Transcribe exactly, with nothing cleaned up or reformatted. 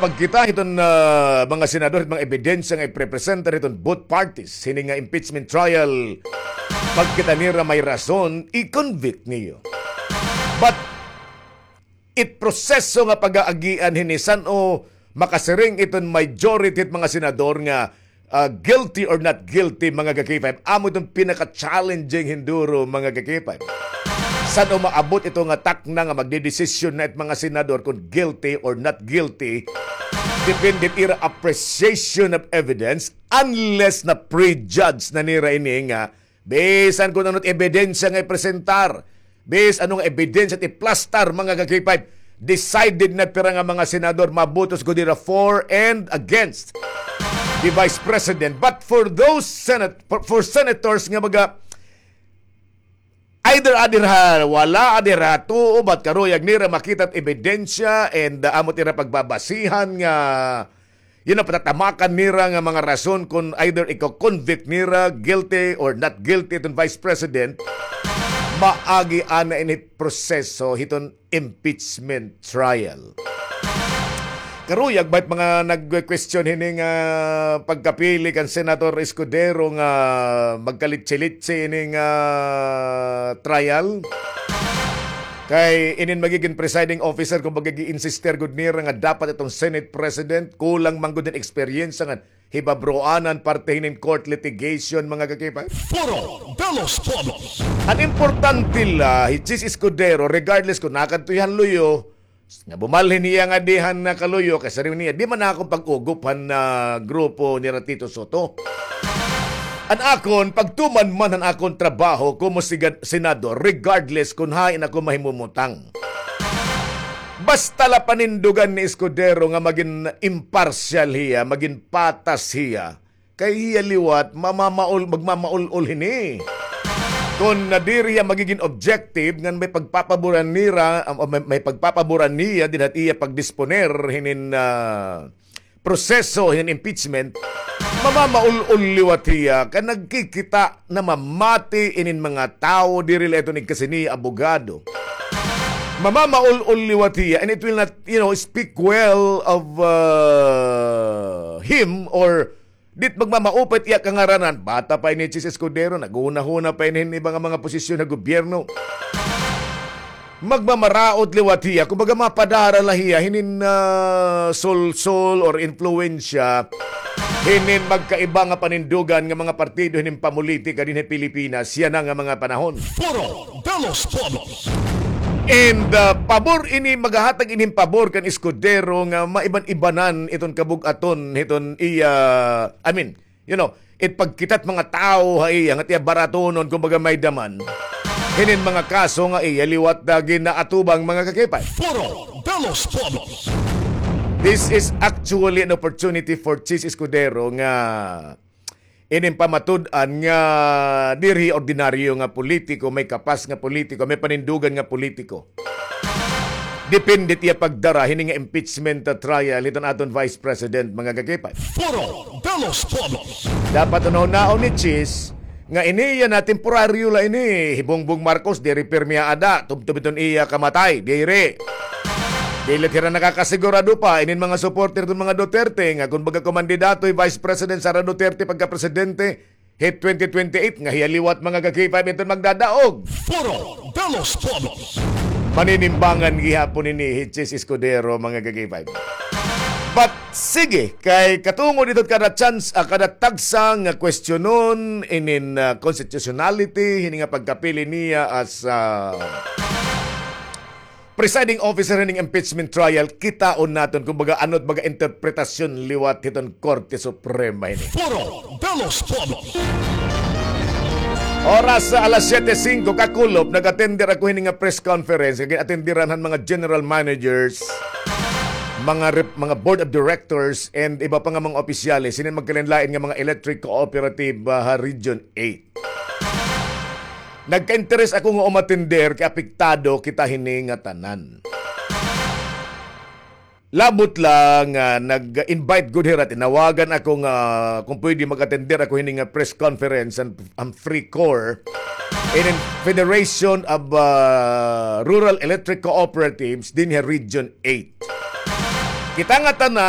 Pagkita hiton, ah, mga senador, mga ebidensya nga iprepresenta hiton both parties hini nga impeachment trial, pagkita nira may rason, i-convict niyo. But it proseso nga pagaagian hini, san-o makasiring iton majority hit mga senador nga ah, guilty or not guilty, mga ka-K five? Amo iton pinaka-challenging hinduro, mga ka-K five. San-o maabot ito nga takna nga magdedesisyon na it mga senador kon guilty or not guilty, depende ira appreciation of evidence, unless na-prejudge na nira ini nga bisan kon ano it ebidensya nga ipresentar, bisan ano nga ebidensya it iplastar, mga ka-K five, decided na pira nga mga senador mabotos gud nira for and against the Vice President. But for those Senate, for, for senators nga mga either adi ra wala, adi ra tuo, but karuyag nira makita it ebidensya and, uh, amo it ira pagbabasihan nga yun ang patatamakan nira nga mga rason kon either iko-convict nira, guilty or not guilty iton Vice President, maagi ana ini proseso hiton impeachment trial. Karuyag ba it mga nag-question hini nga pagkapili kan Senator Escudero nga magkalitse-litse ini nga trial? Kay inin magigin presiding officer, kumbaga, gi-insister gud nira nga dapat iton Senate President, kulang man gud hin eksperyensya ngan hibabroanan parte hinin court litigation, mga ka-K five. Foro de los Pueblos. An importante la, hi Chiz Escudero, regardless kon nakadto hiya han luyo, nga bumalhin hiya ngadi han nakaluyo, kay siring niya, di man akon pag-ugop han, ah, grupo nira Tito Sotto. An akon, pagtuman man han akon trabaho komo siga-, senador, regardless kon hain ako mahimumutang. Basta la panindugan ni Escudero nga magin impartial hiya, magin patas hiya, kay hiya liwat mamamaol-, magmamaol-ol hini. Kon na diri hiya magigin objective ngan may pagpapaboran nira, ah, may, may pagpapaboran niya dinhi ha iya pagdisponer hinin, ah, proseso hin impeachment, mamamaul-ol liwat hiya, kay nagkikita namamati inin mga tawo, diri la ito nagkasini abogado. Mamamaul-ol liwat hiya, and it will not, you know, speak well of, uh, him, or di it magmamaupay it iya kangaranan. Bata pa ini Chiz Escudero, naghunahuna pa ini hin iba nga mga posisyon ha gobyerno. Magmamaraot liwat hiya, kumbaga mapadara la hiya hinin, ah, sulsol or impluwensya hinin magkaiba nga panindugan nga mga partido hinin pamulitika dinhi ha Pilipinas yana nga mga panahon. Foro de los Pueblos. And, ah, pabor ini, maghahatag ini hin pabor kan Escudero nga maiban-ibanan iton kabug-aton hiton iya, I mean, you know, it pagkita it mga tawo ha iya, nga it iya baratonon, kumbaga, may daman hinin mga kaso nga iya liwat na ginaatubang, mga ka-K five. Foro de los Pueblos. This is actually an opportunity for Chiz Escudero nga inin pamatud-an nga diri ordinaryo nga politiko, may kapas nga politiko, may panindugan nga politiko. Depende it iya pagdara hini nga impeachment, ah, trial hiton aton Vice President, mga ka-K five. Foro de los Pueblos. Dapat hunahunaon ni Chiz nga ini yana temporaryo la ini. Hi Bongbong Marcos, diri pirmi aada, tubtob hiton iya kamatay, diri. Diri la hira nakakasigurado pa inin mga supporter hiton mga Duterte nga kon baga kumandidato hi Vice President Sara Duterte pagka-presidente, hit twenty twenty-eight nga hiya liwat, mga ka-K five, iton magdadaog. Foro de los Pueblos. Maninimbangan gihapon ini hi Chiz Escudero, mga ka-K five. But sige, kay katungod ito kada chance, ah, kada tagsa nga kwestiyonon inin, ah, constitutionality hini nga pagkapili niya as, ah, presiding officer hining impeachment trial, kitaon naton kon baga ano it baga interpretasyon liwat hiton Korte Suprema hini. Foro de los Pueblos. Oras sa alas siyete singko, kakulop, nag-attender ako hini nga press conference nga gin-attenderan han mga general managers, mga rep-, mga board of directors, and iba pa nga mga opisyales hinin magkalain-lain nga mga electric cooperative, ah, ha Region eight. Nagka-interes ako nga umatender kay apektado kita hini nga tanan. Labot la nga nag-invite gud hira, tinawagan ako nga kon pwede mag-atender ako hini nga press conference an, an FRECOR, inin Federation of, ah, Rural Electric Cooperatives dinhi ha Region eight. Kita nga tanan,